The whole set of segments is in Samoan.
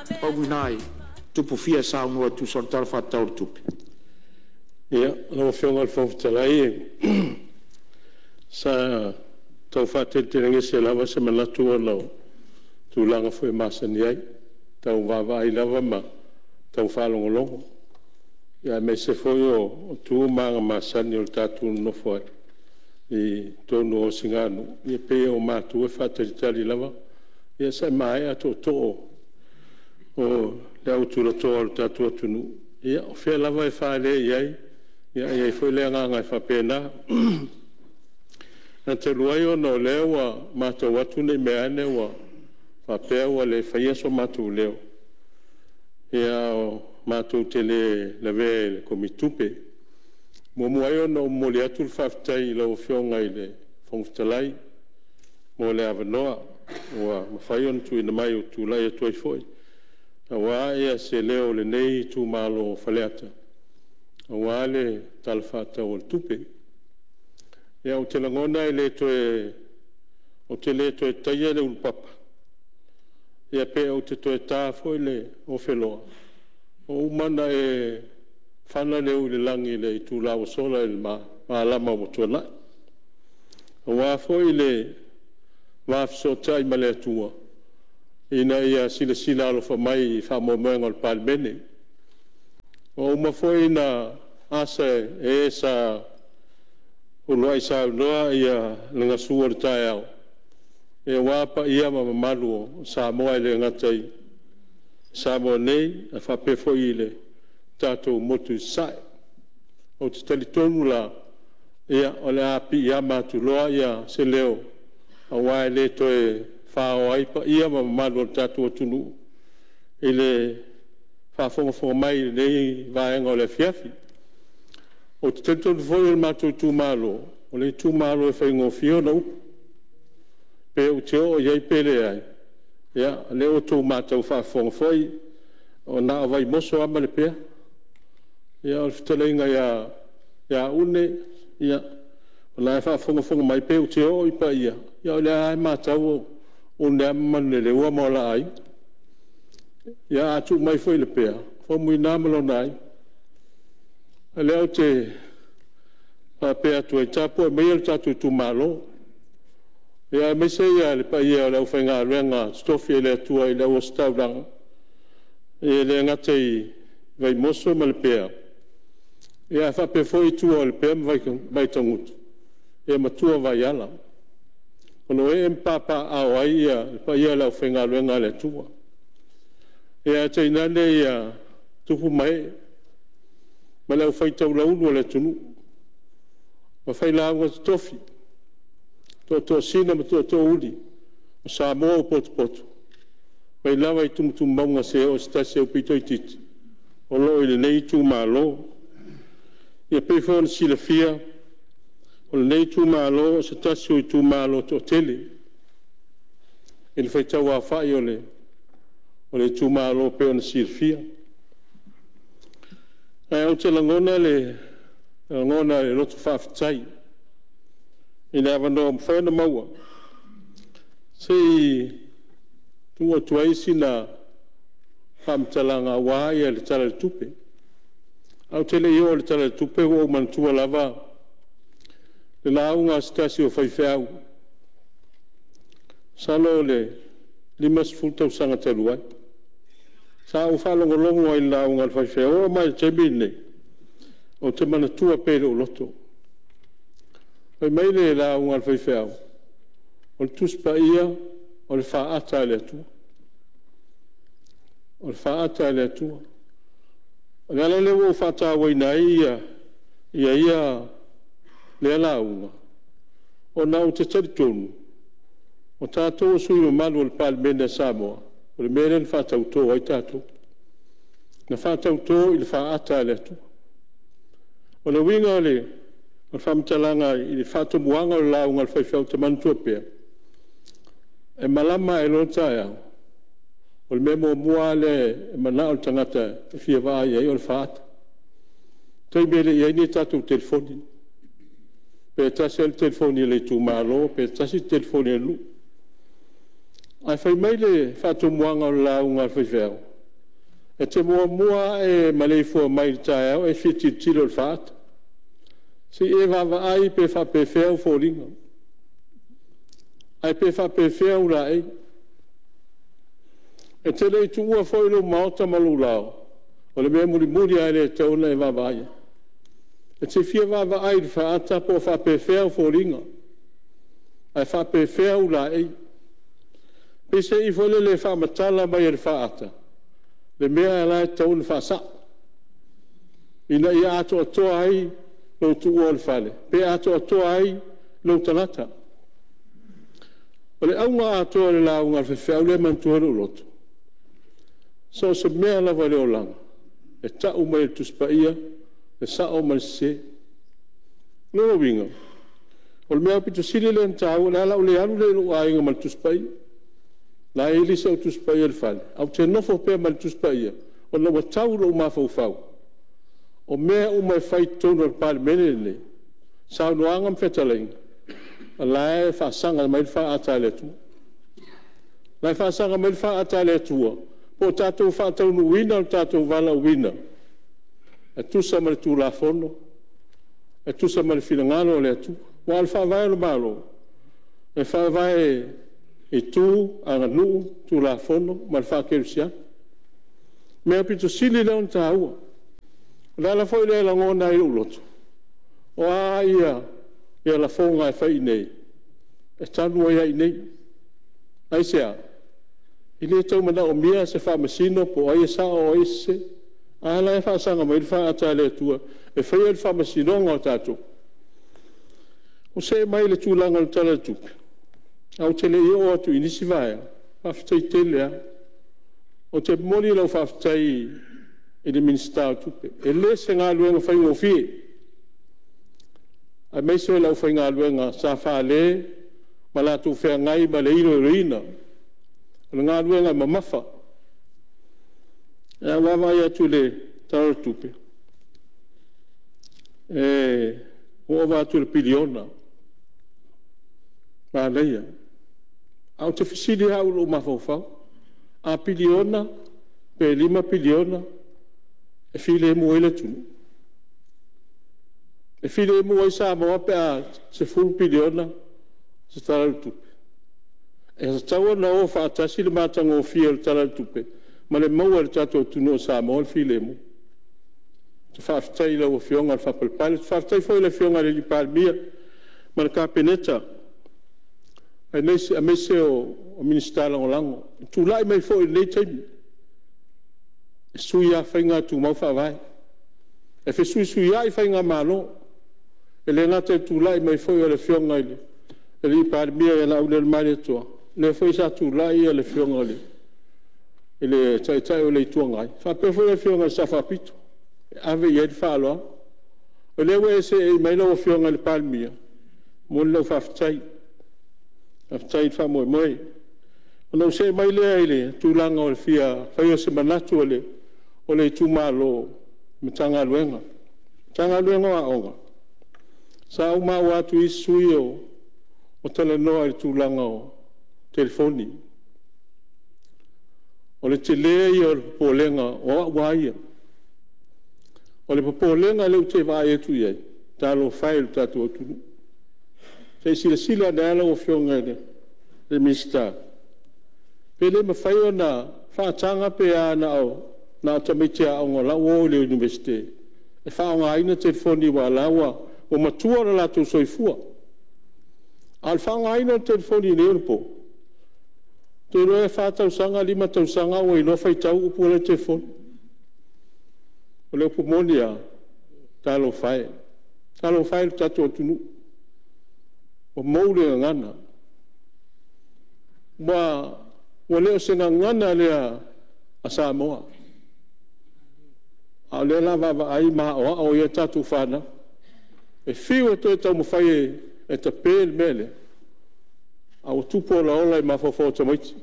Pau lena i tupufia e saunoa e tusa o le Tala Faatatau o le Tupe. Ia, lau Afioga i le Fofoga Fetalai, sa tau faateletelegese lava se manatu ona o tulaga foi e masani ai, tau vaavaai lava ma tau faalogologo, aemaise foi o tu ma aga masani o le tatou nonofo ai i totonu o osiganu, ia pei o matou e faatalitali lava se i maea tootoo o le au tulatoa o le tatou atunuu. Ia o fea lava e fale i ai, e i ai foi le agaga e faapena. Ae talu ai ona o lea ua matau atu ne i meaane ua faapea ua le faia so matou leo, matou te le lavea i le Komiti Tupe. E muamua ai ona ou momoli atu le faafetai i lau Afioga i le Fofoga Fetalai mo le avanoa ua mafai ona tuuina mai ou te tulai atu ai foi aua se leo o lenei itumalo o Faleata aua le Tala Faatatau o le Tupe. Ia, ou te lagona ou te le toe taia le ulupapa, pe ou te toe ta foi le ofeloa, ua uma ona e fana le ui i le lagi i le itula ua sola i le malama ua tuanai, aua foi le va fesootai ma le Atua ina ia silasila alofa mai i faamoemoega o le Palemene. Ua uma foi ona asa e sa uluai saunoa le gasu o le taeao aua paia ma mamalu o Samoa e le gata i Samoa nei, ae faapea foi i le tatou motu i Sasae. Ou te talitonu la, o le a piiama atu loa se leo aua e le toe faoa ai paia ma mamalu o le tatou atunuu i le faafogafoga mai i lenei vaega o le afiafi. Ou te talitonu foi o le matou itumalo, o le itumalo e faigofie ona upu, pe ou te oo i ai pe leai, ia o lea ua outou matau faafofoga foi, na o Vaimoso lava ma Lepea. Ia o le fetalaiga ia Une, o la e faafogafoga mai, pe ou te oo i paia, ia o lea lava e matau o Une lava ma Manuleleua ma o la aiga. Ia a tuu mai foi i Lepea, o Faumuina ma lona aiga. O lea ou te faapea atu ai, tapuai maia lo tatou itumalo, aemaise le paia o le aufaigaluega totofi a le Atua i le au ositaulaga, e le gata i Vaimoso ma Lepea, ae faapea foi tua o Lepea ma Vaitagutu ma tua o Vaiala, o lo o ee ma papaaao ai le paia o le aufaigaluega a le Atua. Ae tainane tupu ma ee ma le aufai taulaulu a le atunuu, le failauga totofi, tootoosin ma tootoouli o Samoa ua potopoto mai lava i tumutumu mauga seia oo i se tasi aupito itiiti o lo o i lenei itumalo. E pei foi ona silafia, o lenei itumalo o se tasi o itumalo e toatele i le faitau aofai o le itumalo e pei ona silafia. Ae ou te lagona le loto faafetai i le avanoa ua mafai ona maua, se i tuu atu ai sina faamatalaga aua le Tala o le Tupe. Ae ou te le i oo i le Tala o le Tupe, ua ou manatua lava le lauga a se tasi o faifeau, masalo o le 50 tausaga talu ai. Sa ou faalogologo ai i le lauga a le faifeau, e oo mai lava i le taimi lenei, ou te manatua pea i lou loto. Fai mai le lauga a le faifeau, “O le Tusi Paia o le faata a le Atua, o le faata a le Atua.” O le ala lea ua ou faatauaina ai lea lauga, ona ou te talitonu, o tatou o sui usufono mamalu o le Palemene a Samoa, o le mea lea na faatauto ai tatou, na faatauto i le faata a le Atua. O le uiga o le faamatalaga i le faatomuaga o le lauga a le faifeau ou te manatua pea, e malama ae loa le taeao, o le mea muamua lava lea e manao le tagata e fia vaai i ai o le faata. O le taimi e le i i ai ni a tatou telefoni, pe tasi lava le telefoni a le itumalo pe tasi le telefoni a le nuu. Ae fai mai le faatomuaga o le lauga a le faifeau, e te muamua lava e maleifua mai i le taeao e fia tilotilo i le faata, se i e vaavaai pe faapefea ou foliga, ae pe faapefea ou laei. E te le i tuua foi lou maota ma lou laoa, o le mea mulimuli lava lea e tatau ona e vaavaai i ai. E te fia vaavaai i le faata po o faapefea ou foliga, ae faapefea ou laei. Peiseai foi lele e faamatala mai e le faata le mea la e tatau ona faasao, ina ia atoatoa ai lou tuua o le fale, pe atoatoa ai lou tagata. O le auga atoa o le lauga a le faifeau lea e manatua ai lou loto, so o se mea lava i le olaga, e tau mai e le Tusi Paia le sao ma le sese. O lona uiga, o le mea aupito sili lea ona taua, o le a ou le alu lea i lou aiga ma le Tusi Paia, o la e ili si au Tusi Paia i le fale, ae ou te nofo pea ma le Tusi Paia, ona ua tau i lou mafaufau, o mea uma e fai i totonu o le Palemene lenei, saunoaga ma fetalaiga, o la e faasaga mai le faata a le Atua. O la e faasaga mai le faata a le Atua po o tatou faataunuuina lo tatou valaauina e tusa ma le Tulafono, e tusa ma le finagalo o le Atua. Aua o le Faavae o le Malo, e faavae i tu, aganuu, Tulafono ma le faakerisiano. O le mea aupito sili lea ona taua. O le ala foi lea e lagona ai i lou loto, o a lafoga e fai i inei, e talu ai lava i inei. Aisea? E le tau manaomia se faamasino po o ai e sao a o ai e sese. A la e faasaga mai le faata a le Atua e faia le faamasinoga o tatou. Ou see mai i le tulaga o le Tala o le Tupe, ae ou te le i oo atu i nisi vaega, faafetai tele lava. Ou te momoli lau faafetai i le Minisita o Tupe, e le o se galuega faigofie, aemaise o le aufaigaluega sa fale ma latou feagai ma le iloiloina o le galuega mamafa. Ae a ou vaavaai atu i le Tala o le Tupe, ua ova atu i le piliona, manaia. Ae ou te fesili lava au i lou mafaufau, a piliona pe $5 piliona, e filemu ai le atunuu? E filemu ai Samoa pe a $10 piliona se Tala o le Tupe? E tatau ona o faatasi le matagofie o le Tala o le Tupe ma le maua e le tatou atunuu o Samoa le filemu. Ou te faafetai i lau Afioga le faapalepale. Faafetai foi i le Afioga i le Palemia ma le Kapeneta, aemaise o Minisita Lagolago. I le tulai mai foi i lenei taimi, e sui lava faiga ae tumau faavae. E fesuisuiai faigamalo, e le gata i le tulai mai foi o le Afioga i le Palemia ia Laaulialemalietoa, o lea foi sa tulai le Afioga i le Taitai o le Itu Agai, faapea foi le Afioga i le Sao Faapito, e ave i ai le faaaloalo. O lea ua e seei mai lau Afioga i le Palemia, e momoli lau faafetai, faafetai le faamoemoe. Ona ou see mai lea i le tulaga o le fia faia o se manatu o le itumalo i le Matagaluega. Le Matagaluega o Aoga, sa ou maua atu i isi sui usufono o talanoa i le tulaga o telefoni. O le tele ia o le popolega o au lava ia. O le popolega lea ou te vaai atu i ai, talofa e i lo tatou atunuu. Se i silasila ane lava lau Afioga i le Minisita, pe le mafai ona faataga pe a na o tamaiti aoga o la e ua o i le Iunivesite e faaaogaina telefoni aua o la e ua matua lo latou soifua. A o le faaaogaina o le telefoni i nei ona po, ou te iloa e fa tausaga lima tausaga ua iloa faitau upu la e i le telefoni. O le upu moni lava, talofa e, talofa e i lo tatou atunuu ua mou le gagana. Ua le o se gagana lea a Samoa, a o lea o le a vaavaai ma aoao ai a tatou fanau. E fiu e toe taumafai e tape le mea lea, a ua tupu olaola i mafaufau o tamaiti. O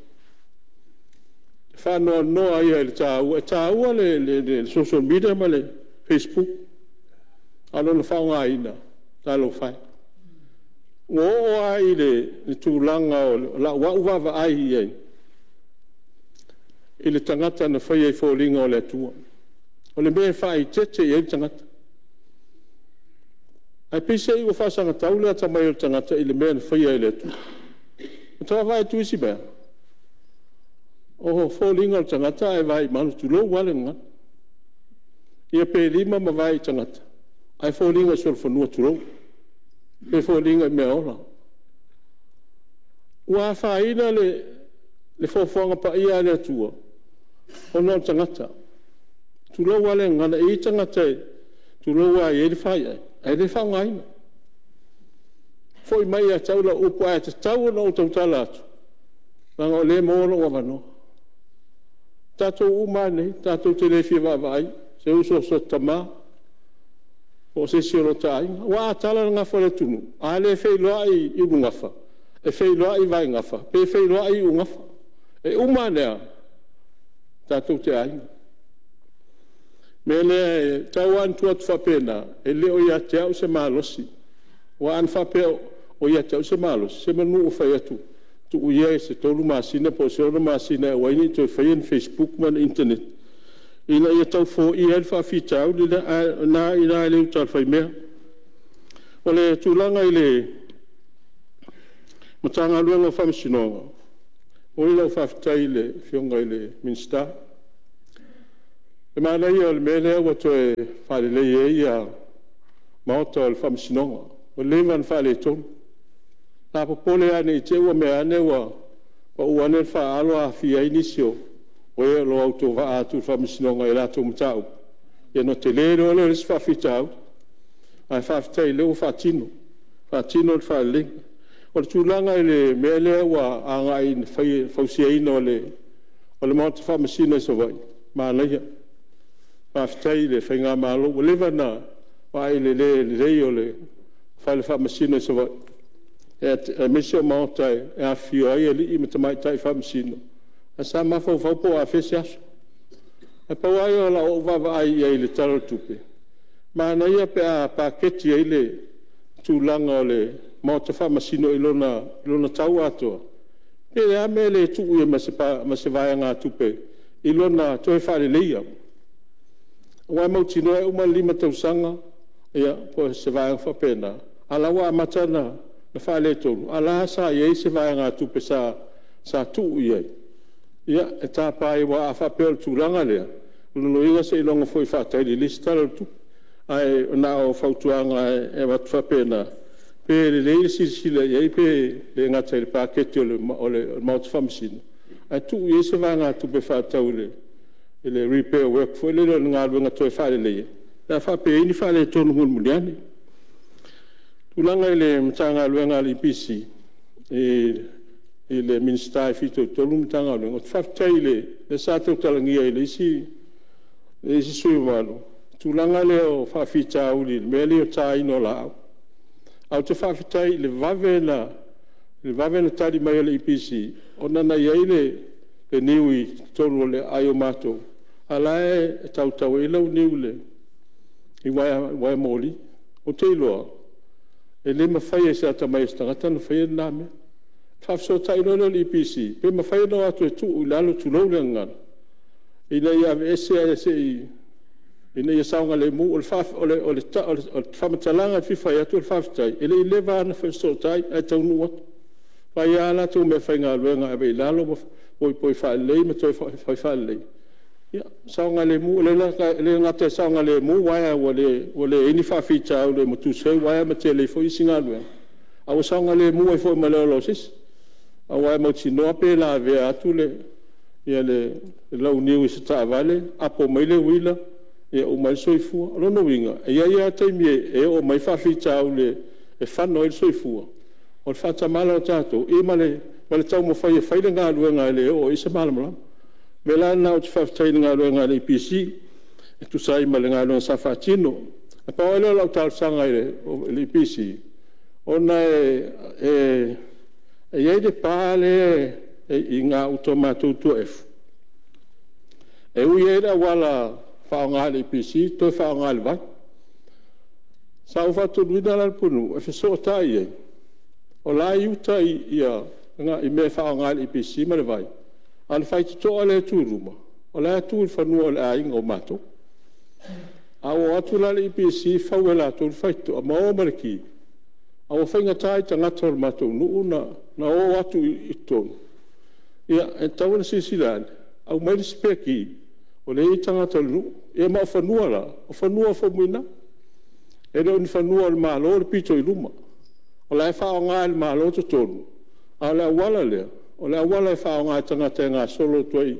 le faanoanoa ia i le taua, e taua le social media ma le facebook, a o lona faaaogaina, talofa e. Ua oo lava i le tulaga o lau vaavaai i ai. i le tagata na faia i foliga o le Atua. O le mea e faaeteete i ai le tagata. Ae peiseai ua faasagatau le atamai o le tagata i le mea na faia e le Atua. Ua ta vaavaai atu i isi mea, o foliga o le tagata a e vaai i manu, tulou lava le gagana, ia pe lima ma vae i tagata ae foliga solofanua, tulou, pe foliga i meaola. Ua afaina le foafoaga paia a le Atua ona o le tagata, tulou lava le gagana. E i ai tagata tulou lava e i ai le faiae ae le faaaogaina. Foi mai ia te au lau upu, ae tatau ona ou tautala atu, leaga o lea e maua lou avanoa. O tatou uma lava nei, tatou te le fia vaavaai i se uso, o so ta tama po o se isi o lota aiga. Aua a tala le gafa o le atunuu, a le feiloai i ulugafa, e feiloai i vaegafa, pe feiloai i iugafa. E uma ane lava, tatou te aiga. O le mea lea, e tau lava ina tuu atu faapena, e le o ia te au se malosi, aua ana faapea o ia te au se malosi, semanu ua fai atu, tuu ia se 3 masina po o se 6 masina e aua ai ne i toe faia ni facebook ma ni internet ina ia tau foia ai le faafitauli lea, ae o lena e i ina le uta a le faimea. O le tulaga i le Matagaluega o Faamasinoga, e momoli lau faafetai i le Afioga i le Minisita. O le manaia o le mea lea ua toe faalelei ai maota o le Faamasinoga, ua leva ona faaletonu. Sa popole lava ne i te i ua mea ane ua pau ane le faaalo aafia ai nisi o e o lo o autovaa atu i le Faamasinoga i a latou mataupu, ia ona tele loa lea o le isi faafitauli. Ae faafetai o lea ua faatino, faatino le faaleleiga. O le tulaga i le mea lea ua agai i le fausiaina o le Maota Faamasino i Savaii, manaia. Faafetai i le faigamalo, ua leva ona vaai i le le lelei o le Fale Faamasino i Savaii, aemaise o maota e afifio ai alii ma tamaitai Faamasino, ae sa mafaufau po o afea se aso. Ae pau lava ia o lau vaavaai i ai i le Tala o le Tupe, manaia pe a paketi ai le tulaga o le Maota Faamasino i lona tau atoa, pe o le a le mea e le tuu ai ma se vaegatupe i lona toe faaleleia. Aua e mautinoa e uma le 5 tausaga po o se vaega faapena, a o la e ua amata ona faaletonu, a o la e sa i ai se vaegatupe sa tuu i ai e tapa ai, aua a faapea o le tulaga lea, o lona uiga seiloga foi e faatali i le isi Tala o le Tupe. Ae na o fautuaga e avatu faapena, pe lelei le silasila i ai pe le gata i le paketi o le Maota Faamasino, ae tuu i ai se vaegatupe faatatau i le repair work foi lele o le galuega toe faaleleia pe a faapea e i ai ni faaletonu mulimuli ane. O le tulaga i le Matagaluega a le EPC i le Minisita e fitoitonu i le Matagaluega, ou te faafetai, lea sa tautalagia e le isi sui usufono mamalu le tulaga lea o faafitauli i le mea lea o le taina o laau. Ae ou te faafetai i le vave ona tali mai o le EPC, ona na i ai le niu i totonu o le aai o matou, a o la e tautau ai le launiu i uaea moli. Ou te iloa, e le mafai e se atamai o se tagata ona faia lena mea. Ona faafesootai loa lea o le EPC, pe mafai ona o atu e tuu i lalo tulou le gagana, ina ia aveese ae se i… ina ia saogalemu. O le faamatalaga e fia fai atu o le faafetai, e le i leva lava ona fesootai ae taunuu atu, fai lava a latou meafaigaluega e ave i lalo ma poipoi faalelei ma toe fai faalelei, ia saogalemu. E le gata ina saogalemu uaea ua leai ni faafitauli e matusi ai uaea ma tele ai foi isi galuega, a ua saogalemu ai foi ma le ola o se isi. Aua e mautinoa pe lavea atu le launiu i se taavale apo mai le uila, ia uma ai le soifua. O lona uiga, e i ai lava taimi e oo mai ai faafitauli e fano ai le soifua, o le faatamala o tatou ma le taumafai e fai le galuega e le oo i ai se malamalama. O le mea la lena ou te faafetai ai i le galuega a le EPC e tusa ai ma le galuega sa faatino. Na pau lava lea o lau talosaga i le EPC, ona e i ai le pa lea e i gauta o matou i Tuaefu, e ui ai le auala faaaoga e le EPC toe faaaoga e le vai. Sa ou faatonuina la le pulenuu e fesootai i ai, o la e i uta i mea e faaaoga e le EPC ma le vai, A o le faitotoa lea e tu i luma, o la e tu i le fanua o le aiga o matou. A ua o atu la le EPC fau e latou le faitotoa ma o ma le ki, ae ua faigata i tagata o le matou nuu ona o atu i totonu. Ia, e tatau ona silasila ane, aumai le spare key o lea e i ai tagata o le nuu. Ia ma o fanua la, o fanua o Faumuina. E le o ni fanua o le Malo le pito i luma. O la e faaaoga e le Malo totonu, a o le auala lea, o le auala e faaaoga e tagata e gasolo atu ai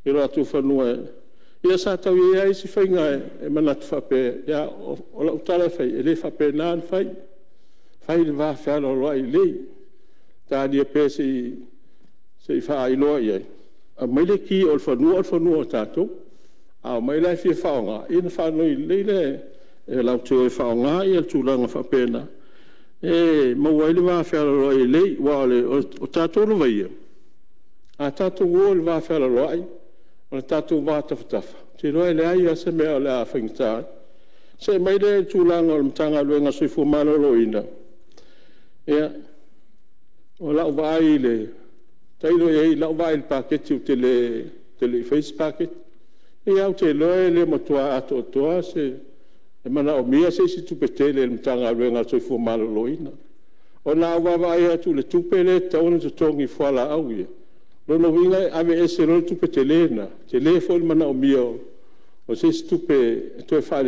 i o latou fanua. Ia sa tau i ai lava isi faiga e manatu faapea, a o lau tala e fai, e le faapena ona fai, fai le va fealoaloai lelei. Talia pea se i faailoa i ai, aumai le ki o le fanua o le fanua o tatou. A omai la e fia faaaoga, ia ona faanoi lelei lea e latou te o e faaaoga le tulaga faapena e maua ai le vafealoaloai lelei. Aua o tatou lava ia, a tatou o i le vafealoaloai ma le tatou va tafatafa, ou te iloa e leai lava se mea o le a faigata ai. See mai lea i le tulaga o le Matagaluega o le Soifua Maloloina, ia, o lau vaai, tailo i ai i lau vaai i le paketi ou te le i faia se paketi. E pei lava ou te iloa e le matua atoatoa se… e manaomia se isi tupe tele e le Matagaluega o le Soifua Maloloina. Ona a ou vaavaai atu i le tupe lea e tatau ona totogi i fualaau ia, o lona uiga e aveese loa le tupe tele lena, tele foi le manaomia o se isi tupe e toe faaleleia